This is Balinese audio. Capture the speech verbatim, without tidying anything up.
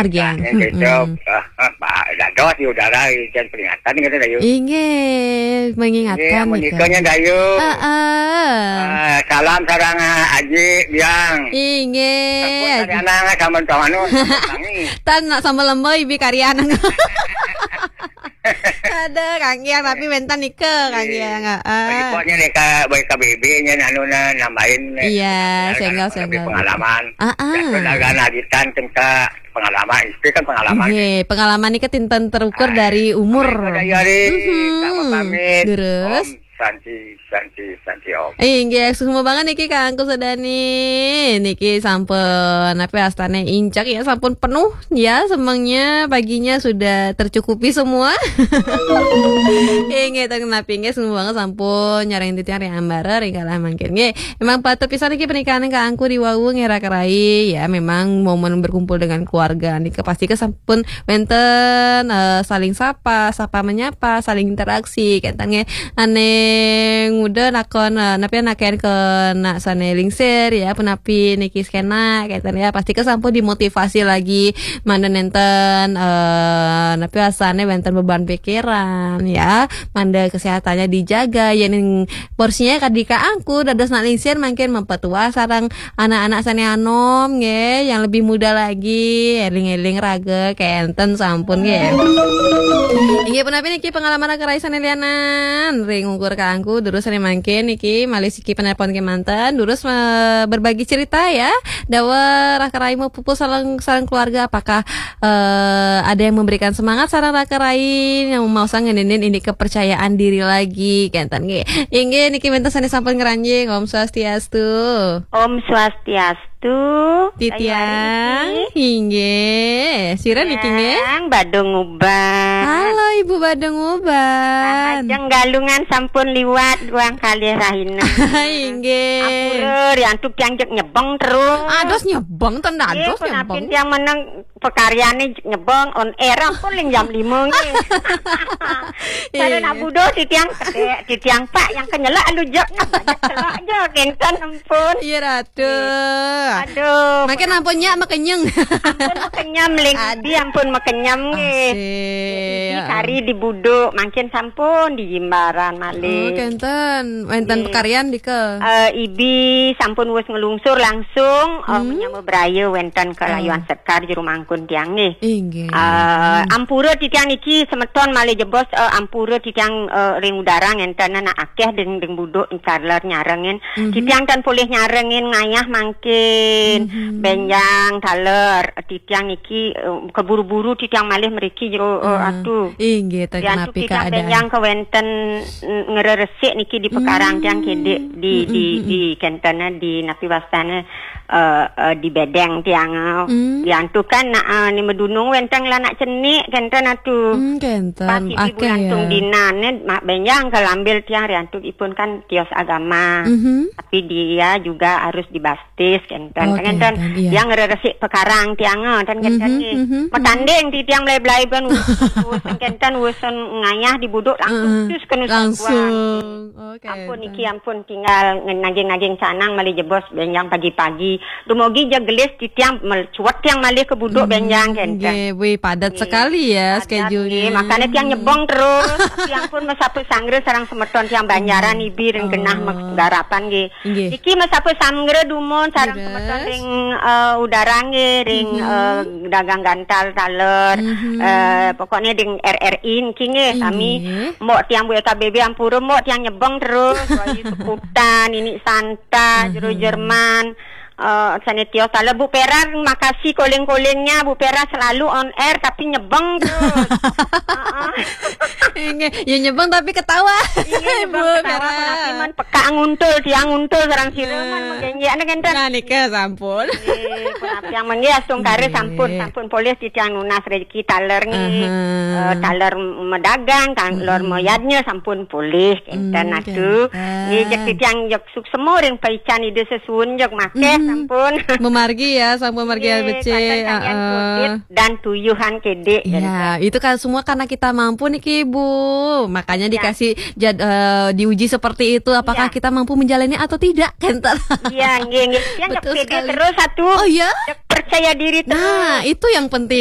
Argiang. Yang cocok, ah, ah, ba-, dados di udara, ieu peringatan gitu, Dayu. Inggih, mengingatkan. Inggih, menikahnya, Dayu. Heeh. Ah, salam sareng, ah, Aji, Biang. Inggih, Aji. Anak sama tuan anu, sama tangi. Tan, sama lemboy, bi karya anak. Ada, Kang Giang, tapi wénten nika, Kang Giang, heeh. Pokoknya nih, Kak, baik K B B nya, anu, nah, nambahin, nih. Iya, senggol, senggol. Pengalaman. Ah, ah. Ya, sudah kan agitan, tentang pengalaman. Itu kan pengalaman. Nggih, pengalaman niki tinten terukur dari umur. Amin. Udah, ya, Ri. Mhm. Sama pamit. Terus? Om Santi, Santi, Santi, Om. Eh, nggih, suksma banget niki, Kang Kusudani. Niki sampun, apa, astane incak ya, sampun penuh ya, semangnya paginya sudah tercukupi semua. Eh, nggih, teng napi, nggih, suksma banget sampun nyarengin titiang ring ambara, ring kalah mangkin. Nggih, emang patut pisan niki pernikahan Kang Angku di wau nggih, Raka Rai. Ya, memang momen berkumpul dengan keluarga nika pasti ke sampun wénten, eh, saling sapa, sapa menyapa, saling interaksi, kenten nggih. Ane nguda nakon, eh, napi naken ke nak sane lingsir ya, punapi niki skena, kenten ya. Pasti ke sampun dimotivasi lagi, manda nenten, eh, napi asane wénten beban pikiran ya, manda kesehatannya dijaga, ya ning porsinya kadika angku, dados nak lingsir mangkin mempetua sareng anak-anak sane anom nggih, yang lebih muda lagi, eling-eling raga kenten sampun nggih. Inggih punapi niki pengalaman Raka Rai sane lianan, ring ungkur kaangku, durus sane mangkin niki malih siki penelpon kemanten, durus, eh, berbagi cerita ya. Dawa Raka Rai mau pupus sareng, sareng keluarga, apakah, eh, ada yang memberikan semangat sareng Raka Rai yang mau sang ngeninin ini kepercayaan diri lagi, kenten nggih. Inggih niki wénten sane sampun ngranjing, Om Swastiastu. Om Swastiastu. Titiang, Ayu Ayu. Inggih. Sira niki nggih? Yang Badung Uban. Halo Ibu Badung Uban. Nah, ajeng Galungan sampun liwat, ruang kalih rahina. Inggih. Ampura, riantuk tiang jeg nyebeng terus. Ados nyebeng, ten dados nyebeng. Nggih, punapi tiang meneng pekaryane nyebeng on air ampun ling jam lima nggih. Sareng Abudo titiang kedek, titiang Pak yang kenyelak alu jek, celak aja kenten ampun. Iya, Ratu. Aduh. Makin ampun nyak makenyeng. Ampun makenyem ling. Aduh. Ibi ampun makenyem nggih. Asik. Ibi kari di Buduk, mangkin sampun di Jimbaran malih. Oh, kenten. Wénten pekaryan dika. Eh, Ibi sampun wus ngelungsur langsung, eh, menyama beraya wénten ke Layuan Sekar jero mangkun tiang nggih. Inggih. Eh, ampura titiang niki semeton malih jebos, eh, ampura titiang, eh, ring udara ngenten nak akeh ding, ding Buduk taler nyarengin. Titiang tan polih nyarengin ngayah mangkin. Benjang taler titiang niki, eh, keburu-buru titiang malih mriki jero, eh, Ratu. Inggih, ten napi keadaan. Titiang benjang kewenten, mm, ngreresik niki di pekarang tiang kedek di, di, di kentene di napi wastane, eh, eh, di bedeng tiang, eh. Diantu kan nak, eh, ni medunung wénten lanak cenik kenten atu. Hmm, kenten. Pas ibu akeh bulan ya. Tung dinan, eh, mak benjang kelambil tiang riantuk ipun kan tios agama. Tapi dia juga harus dibas- tis, kenten. Oh, kenten. Kenten, iya. Yang ngreresik pekarang tiang, eh, ten kenten nggih. Metanding titiang melai-belai ben wus, wus kenten, wus ngayah di Buduk langsung tus ke Nusa Dua. Langsung. Oh, kenten. Ampun niki, ampun tinggal ngen-, naging-naging canang malih jebos benjang pagi-pagi. Dumogi ja gelis titiang mel-, cuet tiang malih ke Buduk benjang kenten. Nggih, wih, padat sekali ya schedule-nya. Padat nggih, makanya tiang nyebeng terus. Tapi ampun mesapa sanggra sareng semeton tiang Banjaran Ibi ring genah garapan nggih. Nggih. Niki mesapa sanggra dumun sareng semeton ring, eh, udara nggih, ring, eh, dagang gantal taler, eh, pokoknya ring R R I niki nggih, sami. Mbok tiang Bu K B B ampura, mbok tiang nyebeng terus, Wahyu Sekutan, Nini Santa, Jero Jerman, eh, sane tios taler, Bu Pera, makasih koling-kolingnya, Bu Pera selalu on air, tapi nyebeng terus. Heeh. Nggih, ya nyebeng tapi ketawa. Iya, nyebeng ketawa, Bu Pera. Tapi man peka nguntul, tiang nguntul sareng sira man menggenjek nek enten. Nah, nika sampun. Nggih, punapi yang menggih astungkara sampun, sampun polih titiang nunas rezeki taler nggih. Eh, taler medagang, taler meyadnya sampun polih enten atu. Nggih, jeg titiang jeg suksema ring paican Ida sesuun jeg makeh sampun. Memargi ya, sampun margi becik. Nggih, kenten kalian kudit dan tuyuhan kedek. Ya, itu kan semua karena kita mampu niki, Bu. Makanya dikasih jad-, eh, diuji seperti itu, apakah kita mampu menjalani atau tidak, kenten. Iya, nggih, nggih. Tiang jeg pede terus atu. Oh, iya? Jeg percaya diri terus. Nah, itu yang penting.